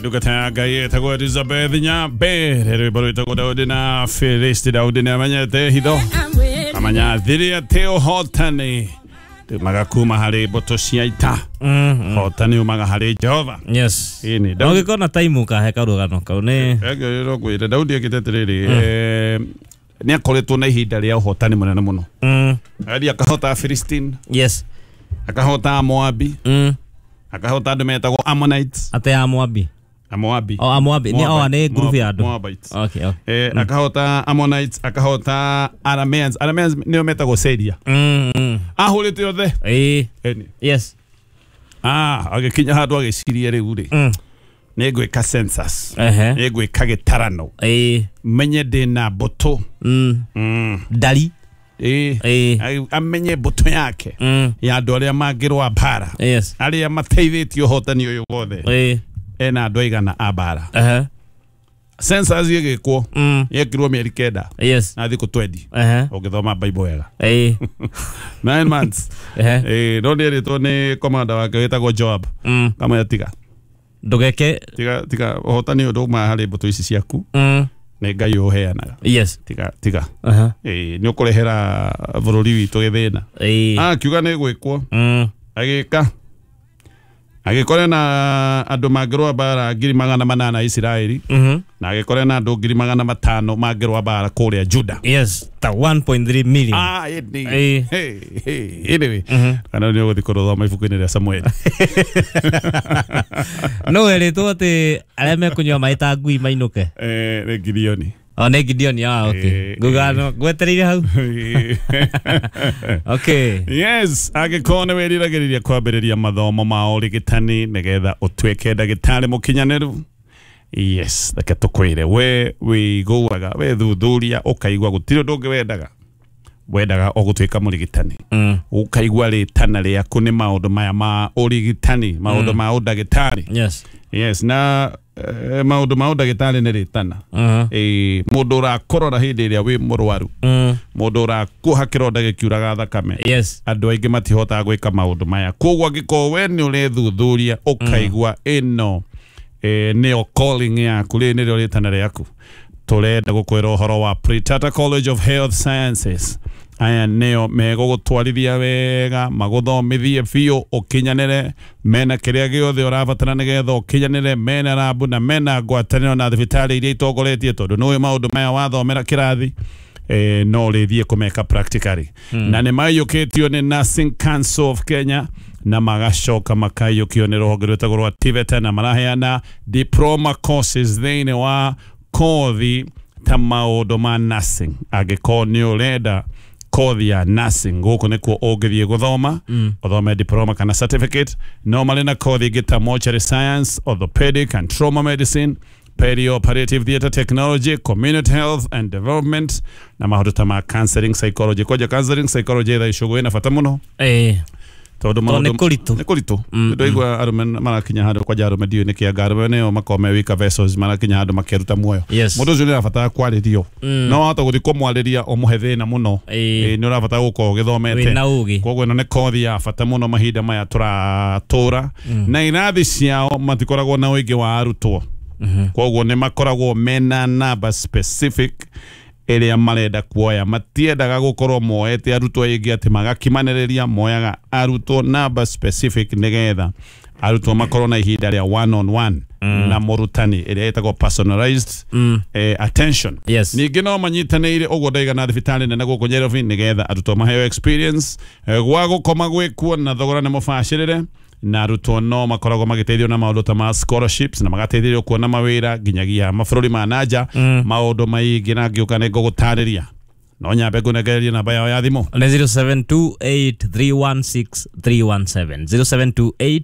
Ndungata ya Ngai ĩtagwo Elizabeth Nyambere, rwĩmbo rwĩtagwo Daudi na Filisti. Daudi nĩ amenyete hitho, amenya thiri atĩ ũhotani umaga kuma harĩ mbũtũ cia ita, ũhotani umaga harĩ Jehova. Yes. Ĩni. No gĩkorwo na time ũkahe karũgano kau nĩ Ngwĩre Daudi ekĩte atĩrĩrĩ, nĩ akoretwo na ihinda rĩa ũhotani mũnene mũno. Agathiĩ akahota Philistine, akahota Moabi, akahota andũ metagwo Ammonites. Atĩ Amoabi? Amoabi. O Amoabi nĩ o nĩ group ya andũ. Moabites. Okay. Akahota Ammonites, akahota Arameans. Arameans nĩo metagwo Syria. Ahũrĩte othe. Ĩni. Ah, agĩkinya handũ agĩciria, rĩu rĩ, nĩ ngwĩka census, nĩ ngwĩka gĩtarano, menye ndĩna mbũtũ. Ndari. Amenye mbũtũ yake ya andũ arĩa mangĩrũa mbara, arĩa mateithĩtie ũhotani ũyũ wothe, ena andũ aigana a mbara. Census ĩgĩkwo, yekirwo mĩeri 9 na thikũ 20. Ũngĩthoma Bible wega, 9 months. No nĩ erĩtwo nĩ komanda wake wĩtagwo Joab, kamwĩra tiga, Ndũgeke. Tiga, tiga, ũhotani ũyũ ndũmaga harĩ mbũtũ ici ciaku, nĩ Ngai ũheanaga. Tiga, tiga. Nĩ ũkũrehera bũrũri witũ gĩthĩna. Akiuga nĩ gwĩkwo. Agĩka, agĩkore na andũ mangĩrũa mbara 800,000 Isiraeli, na agĩkore na andũ 500,000 mangĩrũa mbara kũrĩa Juda. Yes, ta 1.3 million. Ah, ĩndĩ. Hey, hey, anyway, kana nĩ ũgũthiĩ kũrũthoma ibuku-inĩ rĩa Samueli. No werĩtwo atĩ arĩa mekũnyua maĩ ta ngui mainũke. Nĩ Gideoni. O nĩ Gideoni, ah, okay. Nguga ngwetereire hau. Okay. Yes, angĩkorwo nĩ wĩriragĩrĩria kwambĩrĩria mathomo ma ũrigitani nĩgetha ũtuĩke ndagĩtarĩ mũkinyanĩru, yes, reke tũkwĩre, we wĩiguaga wethuthuria ũkaigua gũtirĩ ũndũ ũngĩ wendaga, wendaga o gũtuĩka mũrigitani, ũkaigua rĩtana rĩaku nĩ maũndũ maya ma ũrigitani, maũndũ ma ũndagĩtarĩ. Yes, na maũndũ ma ũndagĩtarĩ nĩ rĩtana. Mũndũ ũrakũrora hĩndĩ ĩrĩa wĩ mũrwaru, mũndũ ũrakuoha kĩronda gĩkiuraga thakame, andũ aingĩ matihotaga gwĩka maũndũ maya. Koguo angĩkorwo we nĩ ũrethuthuria ũkaigua ĩno nĩyo calling yaku, rĩrĩ nĩrĩo rĩtana rĩaku, tũrenda gũkwĩra ũhoro wa Pretata College of Health Sciences. Aya nĩo megũgũtwarithia wega, magũthomithie biũ ũkinyanĩre, mena kĩrĩa gĩothe ũrabatara nĩgetha ũkinyanĩre, mena rabu na mena ngwatanĩro na thibitarĩ iria itongoretie, tondũ nĩũĩ maũndũ maya wathomera kĩrathi, no ũrĩthiĩ kũmeka practically. Na nĩ maiyũkĩtio nĩ Nursing Council of Kenya, na magacoka makaiyũkio nĩ rũhonge rwĩtagwo rwa TVET, na maraheana diploma courses thĩinĩ wa kothi ta maũndũ ma nursing. Angĩkorwo nĩ ũrenda kothi ya nursing, gũkũ nĩkuo ũngĩthiĩ gũthoma, ũthome diploma kana certificate. No marĩ na kothi ĩngĩ ta mortuary science, orthopedic and trauma medicine, perioperative theatre technology, community health and development, na maũndũ ta ma counseling psychology. Kwanja counseling psychology thaa ici ũguo ĩna bata mũno, tondũ Tondũ nĩ kũritũ. Nĩ kũritũ. Ndwaigua arũme marakinya handũ, kwanja arũme, ndiũĩ nĩkĩ, anga arũme nĩo makoragwo me weaker vessels, marakinya handũ makeruta muoyo. Mũndũ ũcio nĩ arabatara kwarĩrio, no wahota gũthiĩ kũmwarĩria ũmũhe thĩna mũno. Nĩ ũrabatara gũkorwo ũgĩthomete Wĩna ũgĩ. Koguo ĩno nĩ kothi ya bata mũno mahinda maya tũratũra, na irathi ciao matikoragwo na ũingĩ wa arutwo, koguo nĩ makoragwo mena namba specific ĩrĩa marenda kuoya. Matiendaga gũkorwo moete arutwo aingĩ atĩ magakimanĩrĩria, moyaga arutwo namba specific nĩgetha arutwo makorwo na ihinda rĩa one on one na mũrutani, ĩrĩa ĩtagwo personalized attention. Ningĩ no manyitanĩire ũguo ndaiga na thibitarĩ nene gũkũ Nairobi nĩgetha arutwo maheo experience, gwa gũkoma gwĩkuo na thogora nĩ mũbacĩrĩre, na arutwo no makoragwo magĩteithio na maũndũ ta ma scholarships, na magateithĩrĩrio kuona mawĩra nginyagia mabũrũri ma nanja. Maũndũ maingĩ na ngĩũka nĩ ngũgũtarĩria, no nyambe ngũnengererie namba yao ya thimũ. Nĩ 0728316317, 0728.